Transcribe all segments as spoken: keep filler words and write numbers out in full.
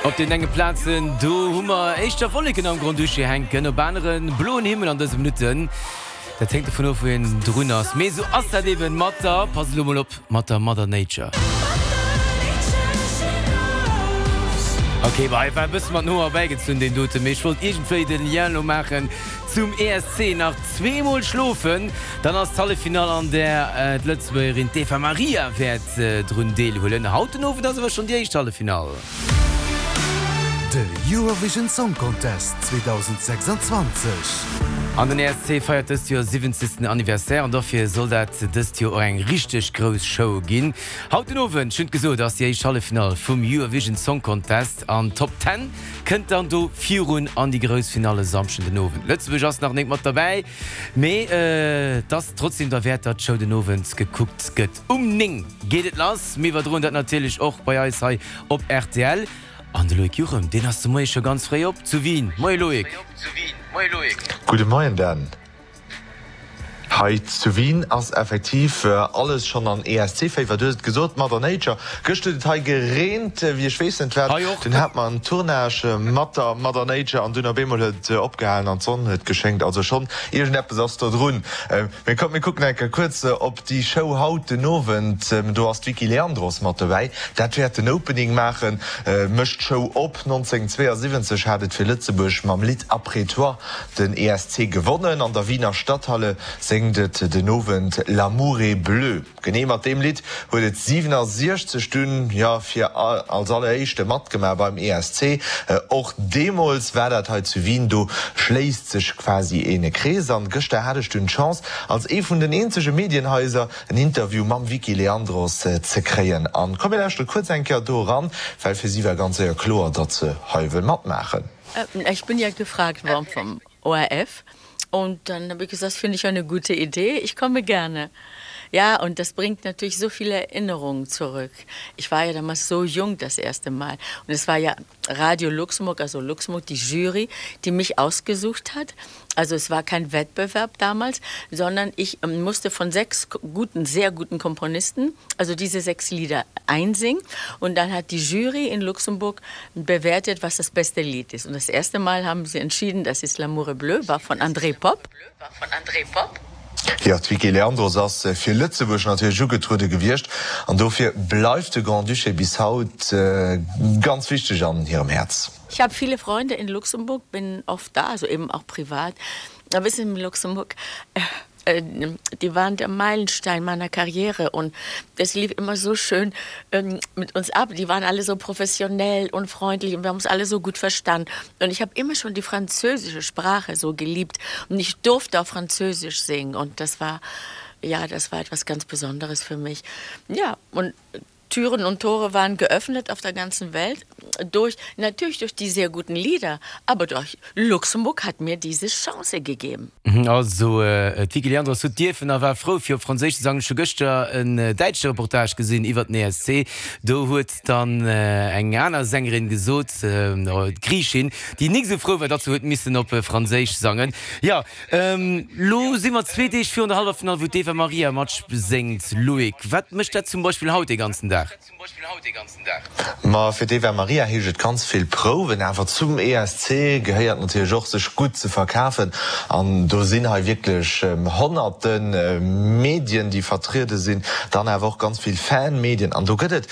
Op den enge Plazen do hu mer éischter Wolleken am Grand-Duché hänken, op aneren bloen Himmel an dëse Minutten. Dat hänkt dovun of wou een drun ass. Mee esou ass dat eben mat der, passt elo mol op, mat der Mother Nature. Ok, bah, hei war e bësse mat den Hoer erbäigezunn deen doten, mee ech wollt iergendwéi den Lien elo maachen zum E S C. Nach zweemol schlofen, dann ass d'Halleffinall an där d'Lëtzebuergerin d'Eva Marija wäert drun deelhuelen. Haut den Owend ass awer schonn déi éischt Halleffinall. De Eurovision Song Contest zweedausendsechsundzwanzeg. An den E S C feiert dëst Joer siwwenzegsten Anniversaire an dofir soll dat dëst Joer och eng richteg grouss Show ginn. Haut den Owend, ech hunn et gesot, ass déi éischt Halleffinall vum Eurovision Song Contest an d'Top Ten kënnt dann do virun an déi grouss Finall e Samschden den Owend. Lëtzebuerg ass nach nik mat derbäi, mee et ass trotzdem derwäert, datt d'Show den Owend gekuckt gëtt. Um néng geet et lass. Mir iwwerdroen dat natierlech och bei eis hei op R T L. An de Loïc Juchem, deen ass de Moie scho ganz fréi op zu Wien. Moie Loïc. Gudde Moien Dan. Hei zu Wien ass effektiv alles schonn an E S C-Féiwer. Du hues et gesot, Mother Nature. Gëscht huet et hei gereent wéi ech weess net wat. Hei och. Dunn hat mer en Tournage mat der Mother Nature an dunn op eemol huet et opgehalen an d'Sonn huet geschéngt. Also schonn iergendeppes ass do drun. Mee kommt mir kucken eng Kéier kuerz op déi Show haut den Owend. Do ass d'Vicky Leandros mat dobäi. Dat wäert den Opening maachen, mécht d'Show op. nonzénhunnertzweeasiwwenzeg hat et fir Lëtzebuerg mam Lidd Après toi den E S C gewonnen. An der Wiener Stadthalle séngt et den Owend L'amour est bleu. Genee mat deem Lidd huet et siwenasiechzeg dunn, jo, fir als alleréischte matgemaach beim E S C. Och deemools war dat hei zu Wien. Do schléisst sech quasi ee Krees. An gëschter hat ech dunn d'Chance, als ee vun den eenzege Medienhaiser en Interview mam Vicky Leandros ze kréien. An komm mir lauschtere kuerz eng Kéier do eran, well fir si war ganz séier kloer, datt se hei wëll matmaachen. Ech bin ja gefragt worden vom O R F und dann habe ich gesagt, finde ich eine gute Idee, ich komme gerne. Ja, und das bringt natürlich so viele Erinnerungen zurück. Ich war ja damals so jung das erste Mal und es war ja Radio Luxemburg, also Luxemburg, die Jury, die mich ausgesucht hat. Also es war kein Wettbewerb damals, sondern ich musste von sechs guten, sehr guten Komponisten, also diese sechs Lieder einsingen und dann hat die Jury in Luxemburg bewertet, was das beste Lied ist. Und das erste Mal haben sie entschieden, das ist L'amour est bleu, war von André Popp. War von André Popp. Jo, d'Vicky Leandros ass fir Lëtzebuerg natierlech ugetruede gewiescht an dofir bleift de Grand-Duché bis haut ganz wichteg an hirem Häerz. Ich habe viele Freunde in Luxemburg, bin oft da, also eben auch privat. Aber in Luxemburg, äh, die waren der Meilenstein meiner Karriere und das lief immer so schön ähm, mit uns ab. Die waren alle so professionell und freundlich und wir haben uns alle so gut verstanden. Und ich habe immer schon die französische Sprache so geliebt und ich durfte auch Französisch singen und das war ja, das war etwas ganz Besonderes für mich. Ja, und Türen und Tore waren geöffnet auf der ganzen Welt durch natürlich durch die sehr guten Lieder, aber durch Luxemburg hat mir diese Chance gegeben. Also d'Vicky Leandros huet dierfen a war frou fir op Franséisch ze sangen. Ech hu gëschter en däitsche Reportage gesinn iwwer den E S C. Do huet dann eng aner Sängerin gesot, d'Griichin, déi nik esou frou war, datt se huet missen op Franséisch sangen. Jo, lo si mer zwee Deeg virun der Halleffinall, wou d'Eva Marija matséngt. Loïc, wat mécht dat zum Beispill haut dee ganzen Dag? Ma fir d'Eva Marija heescht et ganz vill Prouwen, awer zum E S C gehéiert natierlech och, sech gutt ze verkafen. An do sinn hei wierklech honnerte Medien, déi vertriede sinn, dann awer och ganz vill Fan-Medien. An do gëtt et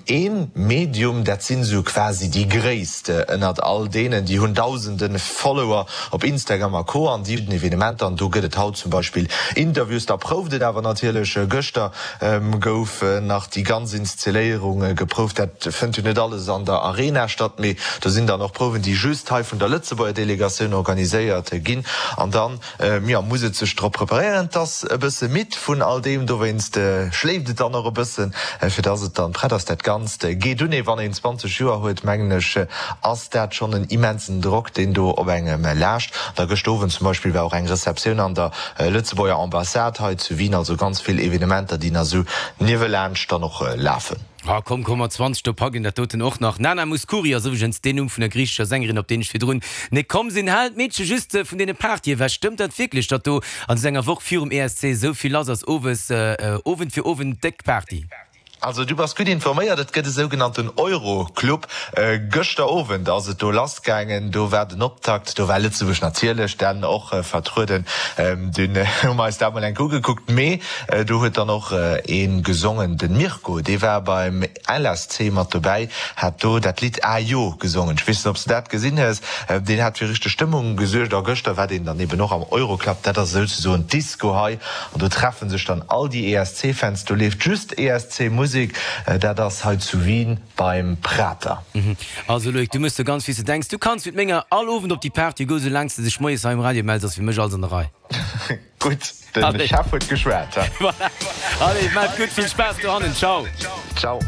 ee Medium, dat sinn esou quasi déi gréisst ënnert all deenen, déi hunn dausende Follower op Instagram a Co. An déi den Evenementer. An do gëtt et haut zum Beispill Interviews. Da prouft et awer natierlech. Gëschter gouf nach déi ganz Inszenéierung geprouft. Dat fënnt jo net alles an der Arena statt, mee do sinn dann och Prouwen, déi just hei vun der Lëtzebuerger Delegatioun organiséiert ginn. An dann, jo, muss et sech drop preparéieren. Et ass e bësse midd vun all deem, dowéinst schléift et dann och e bëssen, fir dass et dann prett ass. Dat Ganzt geet un. Wann een zwanzeg Joer huet, mengen ech, ass dat schonn en immensen Drock, deen do op engem laascht. Da gëscht Owend zum Beispill war och eng Receptioun an der Lëtzebuerger Ambassade hei zu Wien. Also ganz vill Evenementer, déi nach esou niewelaanscht dann och lafen. Ah komm, komm mat zwanzeg, do packen dat doten och nach. Nana Mouskouri ass iwwregens deen Numm vun der griichescher Sängerin, op deen ech virdrun net komm sinn. Halen d'Meedche just vun deene Partye ewech. Stëmmt dat wierklech, datt do an esou enger Woch virum E S C esou vill lass ass, owes, Owend fir Owend déck Party? Also du bass gutt informéiert, et gëtt e sougenannten Euro-Club. Gëschter Owend ass et do lass gaangen, do war den Optakt, do war Lëtzebuerg natierlech dann och vertrueden. Dunn hu mer eis dat mol enk ugekuckt, mee do huet dann och ee gesongen, de Mirko, dee war beim L S C mat dobäi, hat do dat Lidd Ah Jo gesongen. Ech weess net, ob s de dat gesinn hues. Deen hat fir richteg Stëmmung gesuergt a gëschter war deen dann eben och am Euroclub, dat ass souzesoen d'Disco hei an do treffe sech dann all déi E S C-Fans, do leeft just E S C-Musek, dat ass hei zu Wien beim Prater. Also Loïc, du mëss der ganz wéi s de denks. Du kanns mit menger all Owend op déi Party goen, soulaang s de dech moies hei um Radio mells, ass fir mech alles an der Rei. Gutt, de Chef huet geschwat. Voilà. Allez, maach et gutt, vill Spaass dohannen. Ciao. Ciao.